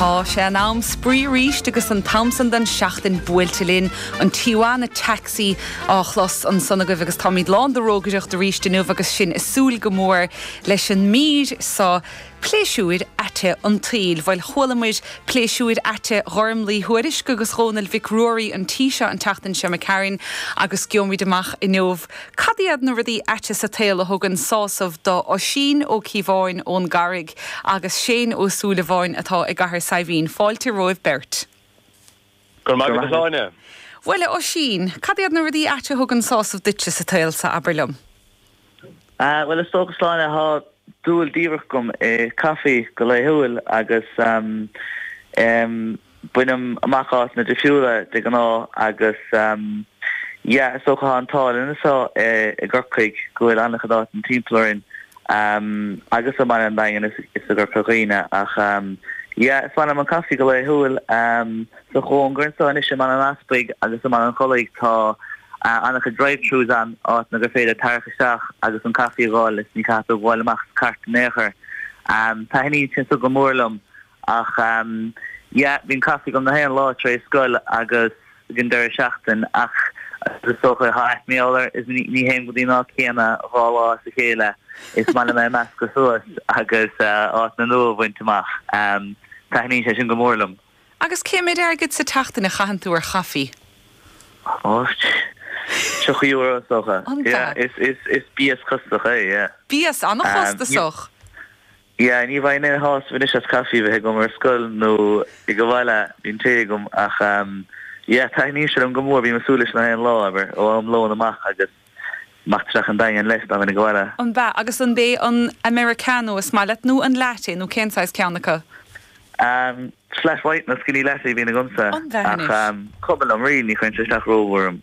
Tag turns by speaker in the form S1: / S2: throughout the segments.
S1: Tá sé in am spraoi arís agus an t-am san den seachtain buailte linn, an Tijuana Taxi á chlos ansan agaibh agus táimid lán de rógaireacht arís inniu agus sinn ag súil go mór leis an mír so, Pléisiúir Aite an tSaoil. Bhuel, chualamair pléisiúir aite Ghormlaí Thuairisc agus Dhónaill Mhic Ruairí an tí seo an tseachtain seo imigh tharainn agus gheobhaimid amach inniu cad iad na rudaí aite sa tsaol a thugann sásamh do Oisín Ó Cíobháin ón gCarraig agus Shane Ó Súilleabháin atá i gCathair Saidhbhín. Fáilte romhaibh beirt.
S2: Go raibh maith agat, a Shláine.
S1: Bhuel, a Oisín, cad iad na rudaí aite a thugann sásamh duitse sa tsaol so, abair liom?
S3: Bhuel, is dócha, a Shláine, tá dúil diamhrach agam i caife go laethúil agus bainim amach áiteanna difriúla de ghnáth agus yeah, is dócha tá an t-ádh linn anseo i gCorcaigh go bhfuil an-chuid áiteanna timpeall orainn agus i mBaile an Daingin is i gCorca Dhuibhne ach yeah, is maith liom an caife go laethúil. Sa chóngar anseo anois i mBaile an Easpaig agus i mBaile an Chollaigh tá an-chuid drive-throughs ann, áiteanna gur féidir tarrac isteach agus an caife a dh'fháil is ní chaithfidh tú gabháil amach sa chairt in aon chor. Taitníonn sé seo go mór liom ach yeah, bíonn caife agam na haon lá tar éis scoil agus ag an deireadh seachtain ach is dócha tá aithne mé air is ní théim go dtí an áit chéanna 2 lá as a chéile. Is maith liom é a meascadh suas agus áiteanna nua a bhaint amach. Taitníonn sé sin go mór liom.
S1: Agus cé méid airgid sa tseachtain a chaitheann tú ar chaifí?
S3: Ó, €30 is dócha.
S1: An ea?
S3: Yeah, is bias costasach é, yeah.
S1: Bias an-chostasach.
S3: Yeah, ní bhfaighinn aon shásamh anois as caife a bheith agam ar scoil nó ag an bhaile, bíonn tae agam ach yeah, taitníonn sé liom go mór, bím ag súil leis na haon lá, abair, ó am lóin amach agus amach isteach an Daingean leis dá mbeinn ag an bhaile.
S1: An b'ea? Agus an b'é an Americano is maith leat nó an latte nó cén saghas ceann acu?
S3: Flat white nó skinny latte a bhíonn agamsa
S1: An b'ea
S3: ach
S1: anois?
S3: cuma liom really, ní chuireann sé isteach rómhór orm.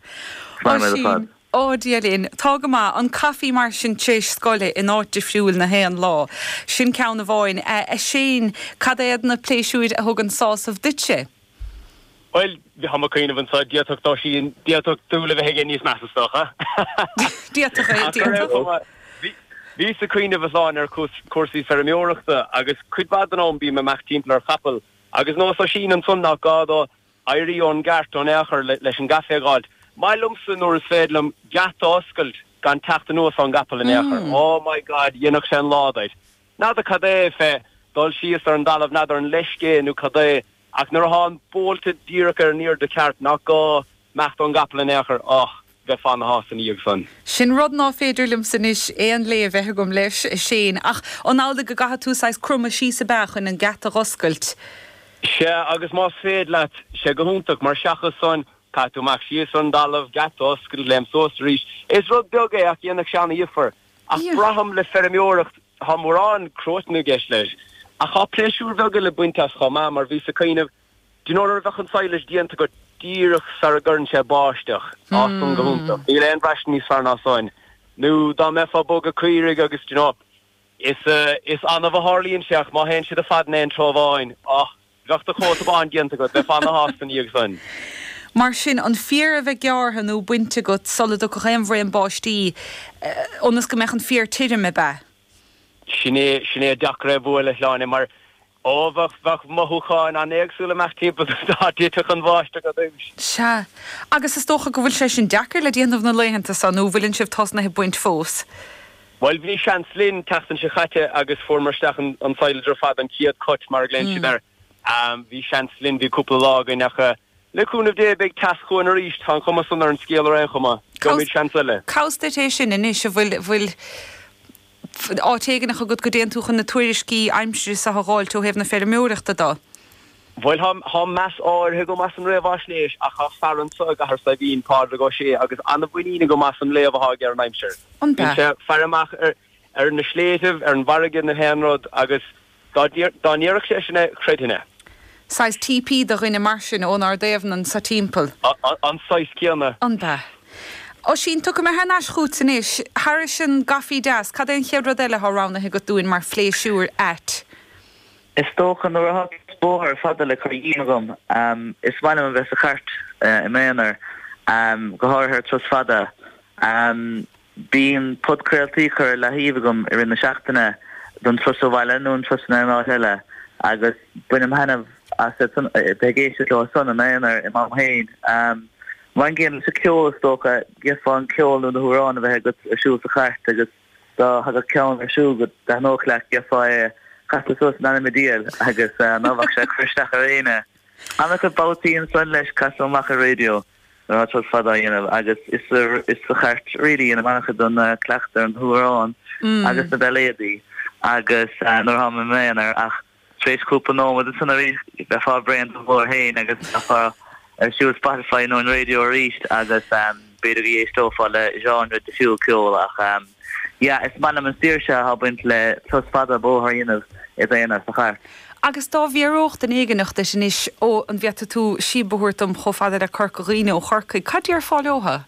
S3: Is maith liom iad ar fad.
S1: Oisín, Ó Dia linn. Tá go maith. An caife mar sin tréis scoile in áit difriúil na haon lá. Sin ceann amháin. A Shane, cad iad na pléisiúir a thugann sásamh duitse?
S2: Bhuel, tá mé ag cuimhneamh anseo, d'fhéadfadh d'Oisín, d'fhéadfadh dúil a bheith aige níos measa is dócha.
S1: D'fhéadfadh é, d'fhéadfadh.
S2: Bhíos ag cuimhneamh a Shláine ar chúrsaí feirmeoireachta agus cuid mhaith den am bím ag imeacht timpeall ar chapall agus nós Oisín ansan nach gá dó éirí ón gcairt in aon chor leis an gcaife a dh'fháilt. Maith liomsa nuair is féidir liom geata a oscailt gan teacht anuas ón gcapall in aon chor. Oh my God, dhéanfadh sé an lá duit. N'fheadar cad é fé dul síos ar an dtalamh, n'fheadar an leisce é nó cad é, ach nuair athá an bolta díreach ar an airde ceart nach gá imeacht ón gcapall in aon chor, och, bheifeá ana-shásta ina dhiaidh san.
S1: Sin rud ná féidir liomsa anois aon lé a bheith agam leis, a Shane, ach an amhlaidh go gcaithfidh tú saghas cromadh síos ab ea chun an geata dh'oscailt?
S2: Sea, agus más féidir leat, sé go hiontach, mar seachas san, caithfidh tú imeacht síos ar an dtalamh, geata a oscailt, léim suas arís. Is rud beag é ach dhéanfadh sé ana-dhifear. Ach braithim le feirmeoireacht, tá mórán cruatain i gceist leis, ach tá pléisiúir bheaga le baint as chomh maith, mar bhíos ag cuimhneamh, do you know nuair a bheadh an silage déanta agat díreach sara gcuireann sé báisteach, á san go hiontach, níl aon bhraistint níos fearr ná san. Nó dá mbeifeá ag bogadh caoirigh agus, do you know, is, is annamh a tharlaíonn sé ach má théann siad ar fad in aon treo amháin, ah, Bheadh do chóta bán déanta agat, bheifeá ana-shásta ina dhiaidh san.
S1: Mar sin, an féar a bheith gearrtha nó bainte agat sula dtiocfadh aon bhraon báistí, ionas go mbeadh an féar tirim, ab ea?
S2: Sin é, sin é deacair é a bhualadh, a Shláine, mar, ó, bheadh, bheadh mothúcháin an-éagsúla amach timpeall dá dtitfeadh an bháisteach ar dtúis.
S1: Sea. Agus is dócha go bhfuil sé sin deacair le déanamh na laethanta so, nó bhfuileann sibh tosnaithe ag baint fós?
S2: Bhuel, bhí seans linn tseachtain seo chaite agus fuaireamar isteach an silage ar fad, an chéad cut mar a ghlaonn siad air. Bhí seans linn, bhí cúpla lá againn ach le cúnamh Dé beidh teas chugainn arís, tá an chuma san ar an scéal ar aon chuma. Gheobhaimid seans eile.
S1: Cá bhfios duit é sin anois, an bhfuil, bhfuil áit éigineach agat go dtéann tú chun na tuairiscí aimsire seo a dh'fháilt ó thaobh na feirmeoireachta do?
S2: Bhuel, tá meas áirithe agam as an réamhaisnéis ach tá fear anso i gCathair Saidhbhín, Pádraig Ó Sé, agus an-mhuinín agam as an léamh atá aige ar an aimsir.
S1: An
S2: Bíonn sé ag faire amach ar na sléibhtibh, ar an bhfarraige, na haon rud agus dá ndéarfadh sé sin é, chreidfinn é.
S1: Saghas TP do dhuine mar sin ónár dtaobhanna anso timpeall.
S2: An saghas céanna.
S1: An b'ea? Oisín, tiocfaidh mé thar n-ais chugat anois. Thairis an gcaife deas, cad é an chéad rud eile atá roghnaithe agat dúinn mar phléisiúr ait?
S3: Is dócha, nuair atá turas bóthair fada le cur dhíom agam, is maith liom a bheith sa chairt i m'aonar, go háirithe ar turas fada. Bíonn podchraoltaí curtha ar leathaobh agam i rith na seachtaine don turas abhaile nó an turas in aon áit eile agus bainim thaitneamh. As bheith ag éisteacht leo san i m'aonar i m'am féin. Mar an gcéanna leis an ceol is dócha, gheofá an ceol nó na hamhráin a bheith agat ar siúl sa chairt agus dá thagadh ceann ar siúl go dtaitneodh leat gheofá é a chasadh suas in ainm an diabhail agus ná bheadh sé ag cur isteach ar éinne. An-chuid babhtaí ansan leis casaim amach an raidió nuair atá turas fada á dhéanamh agus is sa chairt really a dhéanaim an-chuid den cleachtadh ar na hamhráin agus na bailéadaí agus nuair atáim i m'aonar ach Tar éis cúpla nóiméad ansan arís bheifeá bréan den ghlór féin agus bheifeá ar siúl Spotify nó an raidió arís agus b'fhéidir go n-éisteofá le genre difriúil ceoil ach yeah is maith liom an saoirse atá ag baint le turas fada bóthair a dhéanamh i d'aonar sa chairt.
S1: Agus dá bhfiafródh duine éigineach duit anois, ó an bhféadfaidh tú síob a thabhairt dom chomh fada le Corca Dhuibhne ó Chorcaigh, cad déarfá leotha?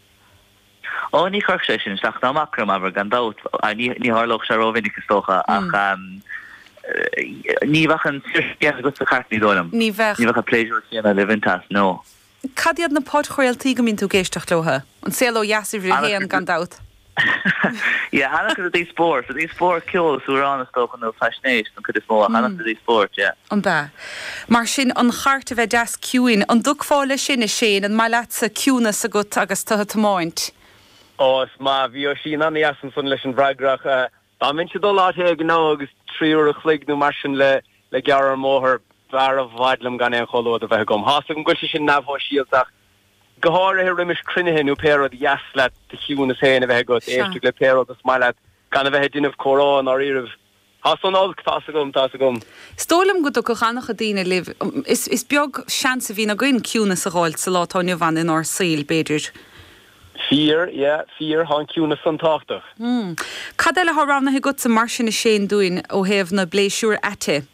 S3: Ó, ní chuirfeadh sé sin isteach ná amach orm, abair, gan dabht. Ní tharlódh sé rómhinic, is dócha, ach ní bheadh an saoirse chéanna agat sa chairt, ní dóigh liom.
S1: Ní bheadh.
S3: Ní bheadh an pléisiúr céanna le baint as, no.
S1: Cad iad na podchraoltaí go mbíonn tú ag éisteacht leotha? An Saol Ó Dheas uimhir a haon, gan dabht.
S3: Yeah, an-chuid i dtaobh spóirt. I dtaobh spóirt, ceol is amhráin is dócha, nó faisnéis don chuid is mó, ach an-chuid i dtaobh spóirt, yeah.
S1: An b'ea? Mar sin, an chairt a bheith deas ciúin, an dtiocfá leis sin, a Shane? An maith leatsa ciúnas agat agus tú ag tiomáint?
S2: Ó, is maith. Bhí Oisín an-dheas ansan leis an bhfreagra ach dá mbeinnse ag dul áit éigin now agus 3 uair a chloig nó mar sin le le gearradh ar an mbóthar, b'fhearr i bhfad liom gan aon chomhluadar bheith agam. Tá's agam go bhfuil sé sin neamhshóisialta ach Go háirithe roimis cruinnithe nó pé rud, dheas leat do chiúnas féin a bheith agat, éisteacht le pé rud is maith leat, gan a bheith ag déanamh comhrá i ndáiríribh. Tá san olc, tá's agam, tá's agam.
S1: Is dóigh liom go dtiocfadh an-chuid daoine libh. Is beag seans a bhíonn againn ciúnas a dh'fháilt sa lá atá inniu ann inár saoil, b'fhéidir.
S2: Fíor, yeah, fíor, tá an ciúnas san tábhachtach.
S1: Cad eile atá roghnaithe agatsa mar sin a Shane dúinn ó thaobh na bpléisiúr aite?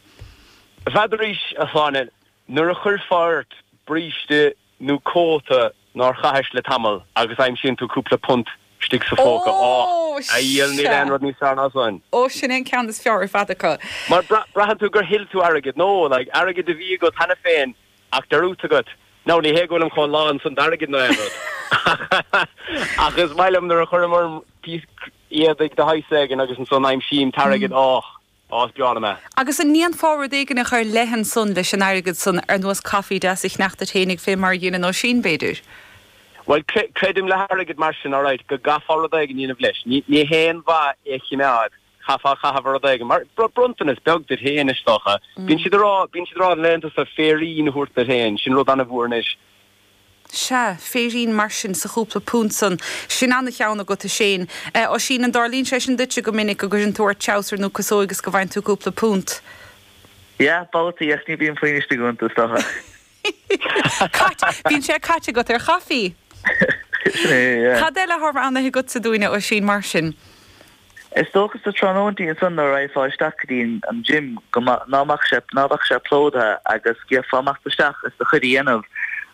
S2: N'fheadarís, a Shláine, nuair a chuirfeá ort bríste nó cóta nár chaithis le tamall agus aimsíonn tú cúpla punt istigh sa phóca.
S1: Ó,
S2: Á, a dhiabhail, níl aon rud níos fearr ná san.
S1: Ó, sin é an ceann is fearr ar fad acu.
S2: Mar braitheann tú gur thuill tú airgead, nó, like, airgead a bhí agat cheana féin ach dearúdta agat. Now, ní hé go bhfuilim chomh lán san d'airgead nó aon rud, ach is maith liom nuair a chuirim orm píosa éadaigh de shaghas éigin agus ansan aimsím t-airgead, á. Á, is breá liom é.
S1: Agus an ndéanfá rud éigineach ar leith ansan leis an airgead san, ar nós caife deas a cheannacht duit fhéinig fé mar a dheineann Oisín, b'fhéidir?
S2: Bhuel, creidim le hairgead mar sin, alright, go gcaithfeá rud éigin a dhéanamh leis. Ní haon mhaith é a chimeád, chaithfeá a chaitheamh ar rud éigin. Mar bronntanas beag duit féin, is dócha. Bíonn siad a rá, bíonn siad a rá na laethanta seo féirín a thabhairt duit féin, sin rud an-mhór anois.
S1: Sea, féirín mar sin sa chúpla punt san. Sin ana-cheann agat, a Shane. Oisín, an dtarlaíonn sé sin duitse go minic, go gcuireann tú ort treabhsar nó casóig is go bhfaigheann tú cúpla punt?
S3: Yeah, babhtaí, ach ní bíonn puinn istigh iontu, is dócha.
S1: Caite, bíonn sé caite agat ar chaifí.
S3: Sin é, yeah.
S1: Cad eile atá roghnaithe agatsa dúinn, a Oisín, mar sin?
S3: Is dócha sa tráthnóintí ansan nuair a raghfá isteach go dtí an gym go ná mbeadh sé ná beadh sé plódaithe agus gheofá amach is isteach is do chuid a dhéanamh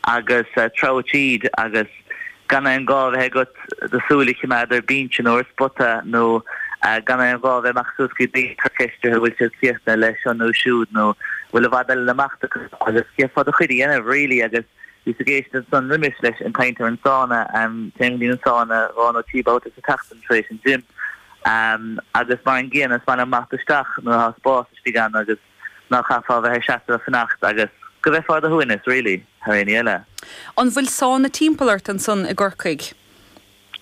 S3: agus treabhadh tríd agus gan aon gá a bheith agat do shúil a chimeád ar binse nó ar spota nó gan aon ghá a bheith amach suas go dtí daoine ag cur ceist orthu bhfuil siad críochnaithe leis seo nó siúd nó bhfuil i bhfad eile le imeacht acu agus gheofá do chuid a dhéanamh really agus Bhíos ag éisteacht ansan roimis leis an caint ar an sána, téim go dtí an sána dhá nó trí babhta sa tseachtain tar éis an gym agus mar an gcéanna is maith liom imeacht isteach nuair atá spás istigh ann agus ná caithfeá a bheith ag seasamh ag fanacht agus go mbeifeá i do shuaimhneas really thar aon ní eile.
S1: An bhfuil sána timpeall ort ansan i gCorcaigh?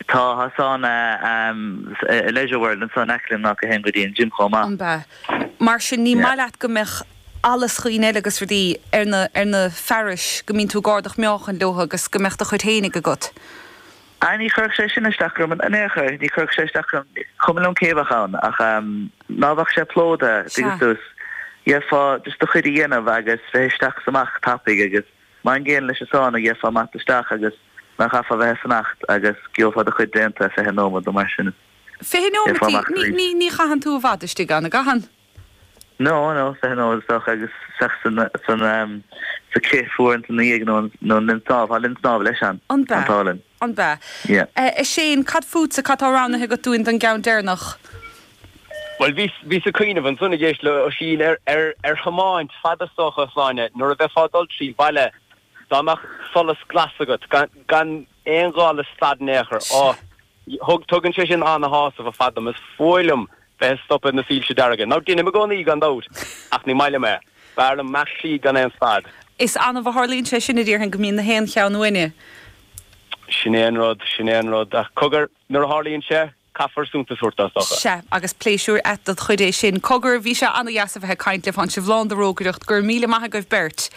S3: Tá, tá sána i Leisure World anso in aice liom in áit a théim go dtí an gym chomh maith.
S1: An b'ea? Mar sin ní maith leat go mbeadh allas dhaoine eile agus rudaí ar na, ar na fearais go mbíonn tú ag ardach meáchain leo agus go mbeadh do chuid fhéinig agat?
S3: Ah ní chuirfeadh sé sin isteach orm in aon chor, ní chuirfeadh sé isteach orm, cuma liom cé bheadh ann ach ná beadh sé plódaithe, tuigeann tú, gheofá just do chuid a dhéanamh agus bheith isteach is amach tapaidh agus Mar an gcéanna leis an sána, gheofá amach isteach agus ná chaithfeá bheith ag fanacht agus gheofá do chuid déanta i 20 nóiméad nó mar sin.
S1: 20 Gheofá nóiméad? amach arís. Ní, ní chaitheann tú i bhfad istigh ann, an gcaitheann?
S3: No, no, 20 nóiméad is dócha agus isteach san, san, sa cith fuar ansan ina dhiaidh nó an, nó an linn snámha, tá linn snámha leis ann,
S1: An b'ea? an t-ádh linn. An b'ea?
S3: Yeah.
S1: A Shane, cad fútsa, cad tá roghnaithe agat dúinn don gceann deireanach?
S2: Bhuel, bhíos, bhíos ag cuimhneamh ansan ag éisteacht le Oisín ar, ar, ar thiomáint fada is dócha, a Shláine, nuair a bheifeá ag dul trí bhaile, dá mbeadh solas glas agat, gan, gan aon ghá le stad in aon chor. Á, thug, tugann sé sin ana-shásamh ar fad dom. Is fuath liom bheith ag stopadh ag na soilse dearga. Now, deinim i gcónaí, gan dabht, ach ní maith liom é. B'fhearr liom imeacht slí gan aon stad.
S1: Is annamh a tharlaíonn sé sin, a déarfainn, go mbíonn na haon cheann uainne.
S2: Sin é an rud, sin é an rud. Ach cogar, nuair a tharlaíonn sé, caithfear suntas a thabhairt dó, is dócha.
S1: Sea, agus pléisiúr ait dod chuid é sin. Cogar, bhí sé ana-dheas a bheith ag caint libh, tánn sibh lán de rógaireacht. Go raibh míle maith agaibh beirt.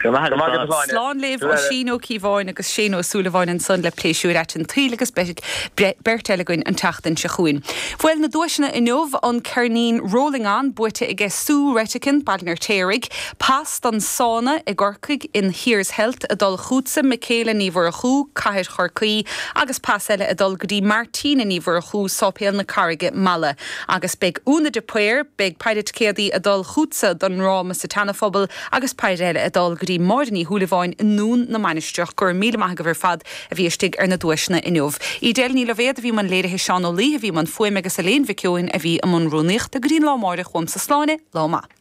S3: Go raibh maith agat, a
S1: Shláine. Slán libh, Oisín Ó Cíobháin agus Shane Ó Súilleabháin ansan le Pléisiúir Ait an tSaoil agus beidh beirt eile againn an tseachtain seo chugainn. Bhuel, na duaiseanna inniu, an ceirnín Rolling On buaite aige Sue Retican, Baile an Fheirtéaraigh, pas don sána i gCorcaigh in Here's Health ag dul chughatsa, Michaela Ní Mhurchú, Cathair Chorcaí, agus pas eile ag dul go dtí Martina Ní Mhurchú, Sáipéal na Carraige, Mala. Agus beidh Úna de Paor, beidh péire ticéadaí ag dul chughatsa don ndráma sa tSeana-Phobal agus péire eile ag dul go dtí Máire Ní Shúilleabháin i nDún na Mainistreach. Go raibh míle maith agaibh ar fad a bhí istigh ar na duaiseanna inniu. Edel Ní Loibhéad a bhí i mbun léirithe, Seán Ó Laoithe a bhí i mbun fuaime agus Elaine Mhic Eoin a bhí i mbun rúnaíochta. Go dtí an lá amáireach, uaimse Sláine, lá maith.